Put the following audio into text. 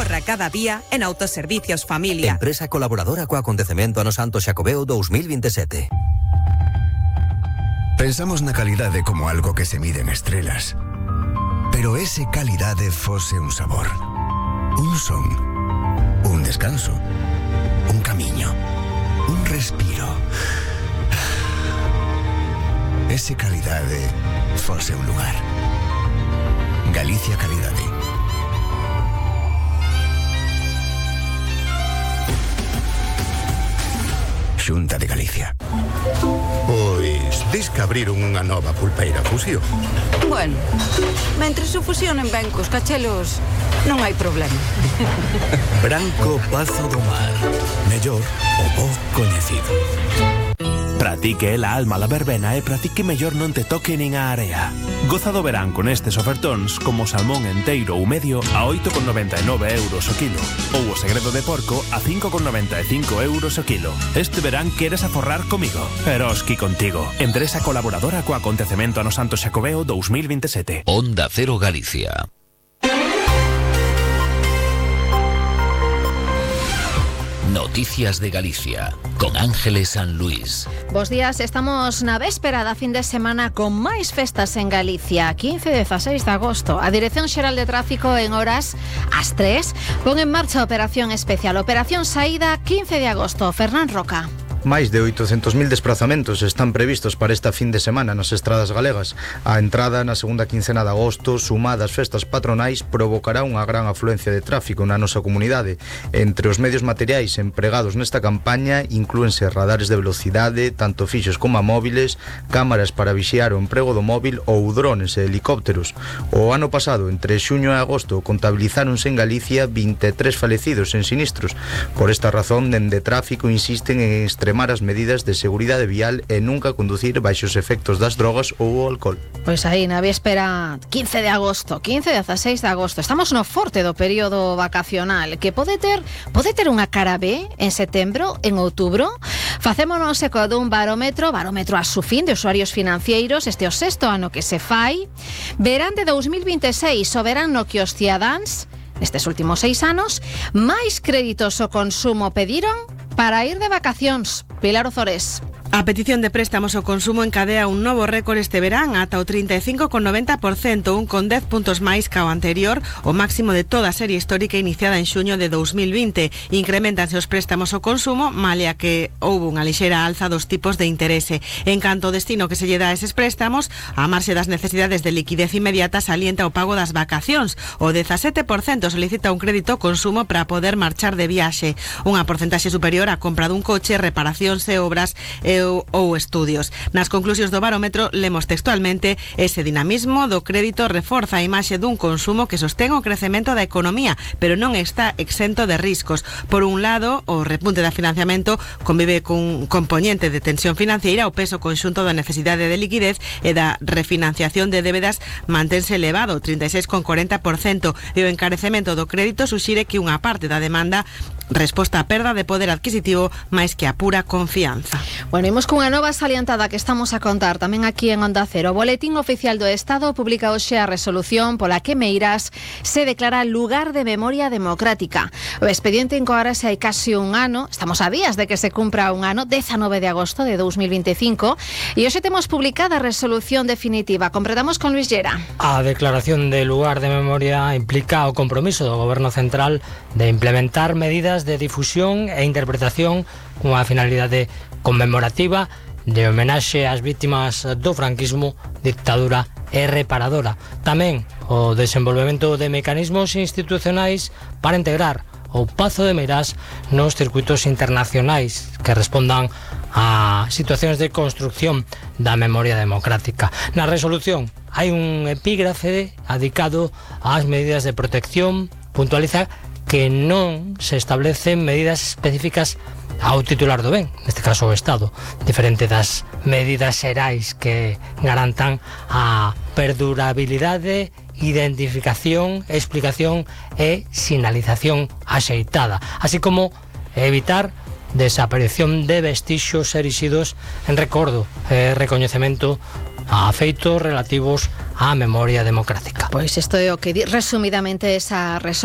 Ahorra cada día en Autoservicios Familia. Empresa colaboradora co acontecemento ano Santo Xacobeo 2027. Pensamos na calidade como algo que se mide en estrelas. Pero ese calidade fose un sabor, un son, un descanso, un camiño, un respiro. Ese calidade fose un lugar. Galicia Calidade. Xunta de Galicia. Pois, dis que abriron unha nova pulpeira Fusión. Bueno, mentres o fusionen ben cos cachelos, non hai problema. Branco Pazo do Mar. Mellor o bo coñecido. Para ti que é a alma da verbena e para ti que mellor non te toque nin a area. Goza do verán con estes ofertóns como salmón enteiro ou medio a 8,99 euros o kilo ou o segredo de porco a 5,95 euros o kilo. Este verán queres aforrar comigo. Eroski contigo. Empresa colaboradora co acontecemento ano Santo Xacobeo 2027. Onda Cero Galicia. Noticias de Galicia, con Ángeles San Luis. Bos días, estamos na véspera da fin de semana con máis festas en Galicia. 15 e 16 de agosto. A Dirección Xeral de Tráfico en horas ás 3 pon en marcha a operación especial. Operación Saída 15 de agosto. Fernán Roca. Máis de 800.000 desplazamentos están previstos para esta fin de semana nas estradas galegas. A entrada na segunda quincena de agosto, sumada ás festas patronais, provocará unha gran afluencia de tráfico na nosa comunidade. Entre os medios materiais empregados nesta campaña inclúense radares de velocidade, tanto fixos como móviles, cámaras para vixiar o emprego do móvil ou drones e helicópteros. O ano pasado, entre xuño e agosto, contabilizáronse en Galicia 23 falecidos en sinistros. Por esta razón, dende Tráfico insisten en extremar as medidas de seguridade vial e nunca conducir baixo os efectos das drogas ou o alcohol. Pois aí, na víspera 15 de agosto, 15 e 16 de agosto, estamos no forte do período vacacional, que pode ter unha cara B en setembro, en outubro. Facémonos eco dun barómetro a su fin de usuarios financeiros, este o sexto ano que se fai. Verán de 2026, o verán no que os cidadáns, nestes últimos 6 anos, máis créditos ao consumo pediron para ir de vacacións. Pilar Ozores. A petición de préstamos ao consumo encadea un novo récord este verán ata o 35,90%, un con 10 puntos máis ca o anterior, o máximo de toda a serie histórica iniciada en xuño de 2020. Increméntanse os préstamos ao consumo, malia que houve unha lixeira alza dos tipos de interese. En canto ao destino que se lle dá a eses préstamos, a marxe das necesidades de liquidez inmediata salienta o pago das vacacións. O 17% solicita un crédito ao consumo para poder marchar de viaxe, unha porcentaxe superior á compra dun coche, reparacións e obras ou estudios. Nas conclusións do barómetro lemos textualmente: ese dinamismo do crédito reforza a imaxe dun consumo que sostén o crecemento da economía, pero non está exento de riscos. Por un lado, o repunte da financiamento convive cun componente de tensión financiera, o peso conxunto da necesidade de liquidez e da refinanciación de débedas mantense elevado, 36,40%, e o encarecemento do crédito suxire que unha parte da demanda resposta á perda de poder adquisitivo máis que a pura confianza. Bueno, imos cunha nova salientada que estamos a contar tamén aquí en Onda Cero. O Boletín Oficial do Estado publica hoxe a resolución pola que Meirás se declara lugar de memoria democrática. O expediente encoárase hai casi un ano, estamos a días de que se cumpra un ano, 19 de agosto de 2025, e hoxe temos publicada a resolución definitiva. Completamos con Luis Llera. A declaración de lugar de memoria implica o compromiso do Goberno Central de implementar medidas de difusión e interpretación cunha finalidade conmemorativa de homenaxe ás vítimas do franquismo, dictadura e reparadora. Tamén o desenvolvemento de mecanismos institucionais para integrar o Pazo de Meirás nos circuitos internacionais que respondan a situacións de construcción da memoria democrática. Na resolución hai un epígrafe dedicado ás medidas de protección, puntualiza que non se establecen medidas específicas ao titular do ben, neste caso o Estado, diferente das medidas xerais que garantan a perdurabilidade, identificación, explicación e sinalización axeitada, así como evitar desaparición de vestixios erixidos en recordo e recoñecemento a feitos relativos á memoria democrática. Pois isto é o que di resumidamente esa resolución.